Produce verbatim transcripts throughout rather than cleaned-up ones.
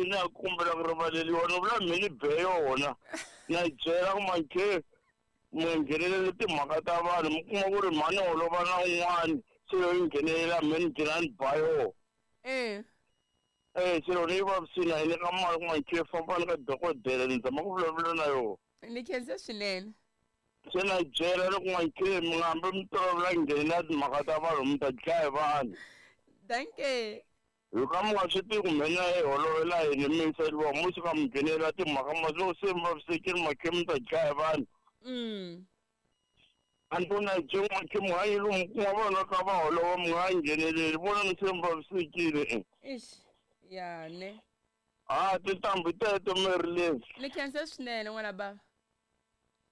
yini a kombela ku rivaleriwa ni vula me ni be yona na yi byela ku makhe mi nghenelele timhaka ta vanhu mi kuma ku ri mhani holova na un'wani se yo yi nghenelela me ni gcina ni ba yona eh eh se loko ni yi vavisini a yi nyika mali ku makhe fambani ka dokodela ni zama ku vulavula na yona ni khense swinene se na yi byela loko makhe mi nga hambi mi tolovela nghenelela timhaka ta vanhu mi ta dlaya hi vanhu danke hi ka mi nga swi tivi kumbe na yi holovela yini mi yiseriwa mo suka mi nghenelela timhaka ma loko se mi vavisekile makhe mi ta dlaya hi vanhu mm a ni vona byi makhe mi nga yi lomu kuma vanhu va kha va holova mi nga ngheneleli vona ni se mi vavisekile e ish ya ne a tintambu teto mi ri ni khense swinene n'wana bava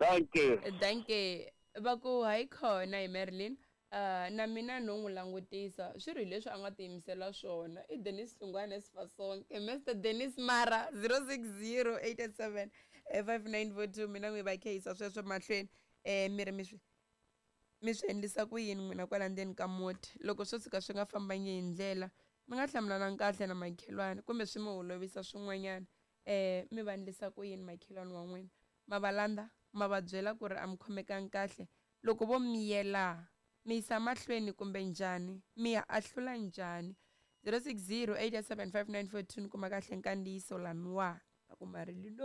danke danke va ku hayi khona hi Marilyn uh, na mina no n'wi langutisa swi ri leswi a nga tiyimisela swona i Dennis Hlungwane Sifasonke Mister Dennis Mara zero six zero eight eight seven five nine four two mina n'wi va kheyisa sweswo mahlweni eh mi ri mi swi mi swi endlisa ku yini n'wina kwala ndzeni ka muti loko swo tshuka swi nga fambangi hi ndlela mi nga hlamulana kahle na makhelwani kumbe swi mi holovisa swin'wanyana eh mi va endlisa ku yini makhelwani wa n'wina ma va landza ma va byela ku ri a mi khomekangi kahle loko vo miyela mi yisa mahlweni kumbe njhani mi ya ahlula njhani zero six zero eight eight seven five nine four two ni kuma kahle nkandziyiso laniwa a ku Marilyn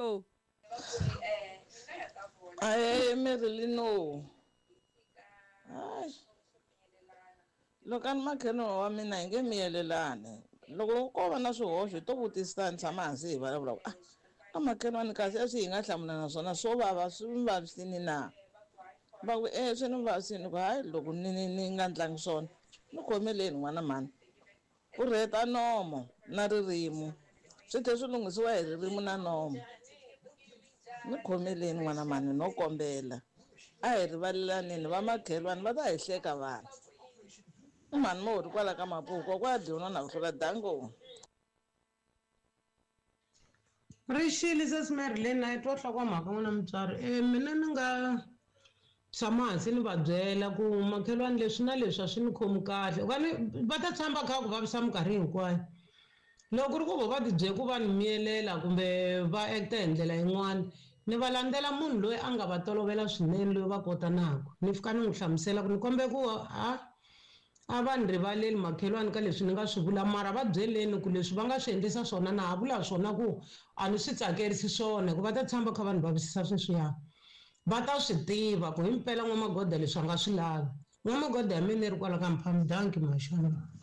ae Marilyn hayi loko a ni makhelwani wa mina hi nge miyelelani loko ko va na swihoxo hi to vutisana ni tshama hansi hi vulavula ku ah a makhelwani kasi a swi hi nga hlamulana swona swo vava swi mi vavisini na va ku e swi ni vavisini ku hayi loko ni ni ni nga ndlangi swona ni khomeleni n'wana mhani ku rheta nomo na ririmi swi tlhe swi lunghisiwa hi ririmi na nomo ni khomeleni n'wana mhani no kombela a hi rivalelaneni va makhelwani va ta hi hleka vanhu i mhani mo ri kwala ka Mapuku kwa dyiwa na ku hlula dango Rixile sesi Marilyn a yi twa nhlokomhaka n'wina mutswari e mina ni nga tshama hansi ni va byela ku makhelwani leswi na leswi a swi ni khomi kahle kani va ta tshama kha ku vavisa minkarhi hinkwayo loko ku ri ku vo va ti bye ku va ni miyelela kumbe va acta hi ndlela yin'wana ni va landzela munhu loyi a nga va tolovela swinene loyi va kotanaka ni fika ni n'wi hlamusela ku ni kombe ku a a va ni rivaleli makhelwani ka leswi ni nga swi vula mara va byeleni ku leswi va nga swi endlisa swona na ha vula swona ku a ni swi tsakerisi swona hikuva ta tshama kha vanhu vavisisa sweswiya va ta swi tiva ku himpela n'wamagoda leswi a nga swi lavi n'wamagoda ya mina yi ri kwala ka Mphami danki maxana.